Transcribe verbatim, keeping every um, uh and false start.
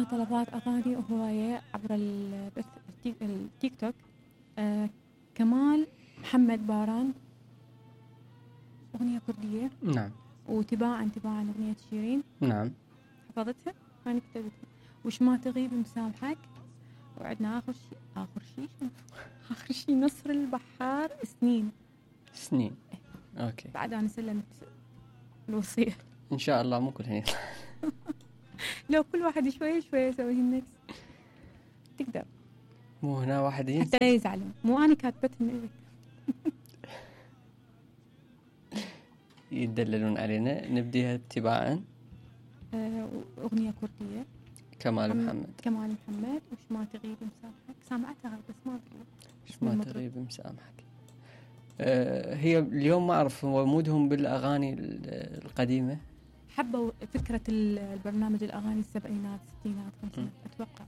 طلبات أغاني وهواية عبر البث التيك, التيك توك. آه كمال محمد باران أغنية كردية. نعم. وتباعا تباعا أغنية شيرين. نعم. حفظتها؟ أنا كتبتها. وش ما تغيب مسامحك. وعدنا آخر شيء آخر شيء آخر شيء نصر البحار سنين. سنين. أوكي. بعد أنا سلمت الوصية. إن شاء الله مو كلهن. لو كل واحد شوية شوية يسوي النكس تقدر. مو هنا واحد ينسى. حتى يزعلون. مو أنا كاتبتهم. يدللون علينا. نبديها اتباعا. أغنية كردية. كمال محمد. كمال محمد. وش ما تغيب مسامحك. سامعتها بس ما أدري. وش ما تغيب مسامحك. أه هي اليوم ما أعرف هو مودهم بالأغاني القديمة. حبوا فكرة البرنامج الأغاني السبعينات ستينات خمسينات أتوقع.